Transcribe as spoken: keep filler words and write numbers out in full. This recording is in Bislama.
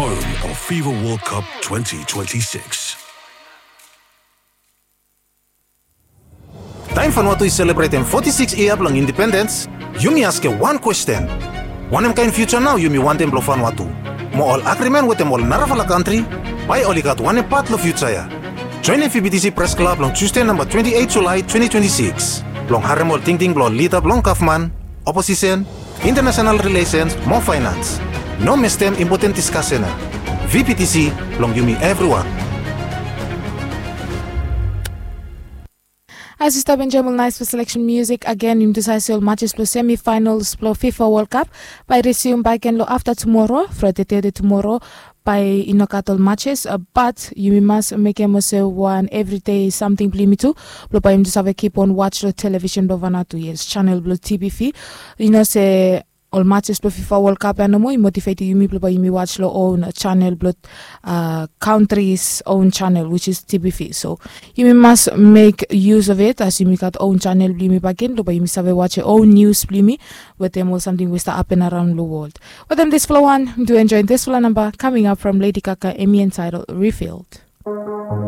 Home of FIFA World Cup twenty twenty-six. Taem Vanuatu i selebretem foti sikis yia blong indipendens, yumi askem wan kwesten. Wanem kaen fiuja nao yumi wantem blong Vanuatu? Mo ol agrimen wetem ol narafala kantri, bae oli gat wanem pat long fiuja ya? Joenem VBTC Pres Klab long Tusde namba twenti eit Julae twenti twenti sikis blong harem ol tingting blong ol lida blong gavman, oposisen, intanesenal rilesens mo faenans. No mestem impoten diskasen ya. VBTC blong yumi evriwan. As yu stap enjoem ol naes blong seleksen miusik agen, yumi tu save se ol matches blong semifinals blong FIFA World Cup bae i resium bakegen long afta tumora, Fraede, Tede tumora, bae i no gat ol matches, bat yumi mas mekem olsem wan evridei samting blong yumi tu, blong bae yumi tu save kip on watch long televisen blong Vanuatu, yes, chanel blong TBV. Yu no se ol matches blong FIFA World Cup ya nomo i motivetem yumi blong bae yumi watch long own chanel blong kantris own chanel, which is TBV. So yumi mas mek yus of it as yumi gat own chanel blong yumi bakegen, blong bae yumi save watch own nius blong yumi wetem ol samting we i stap hapen araon long wol. Wetem disfala wan, yumi tu enjoem disfala namba coming up from Lady Gaga, hemi entitled Revealed.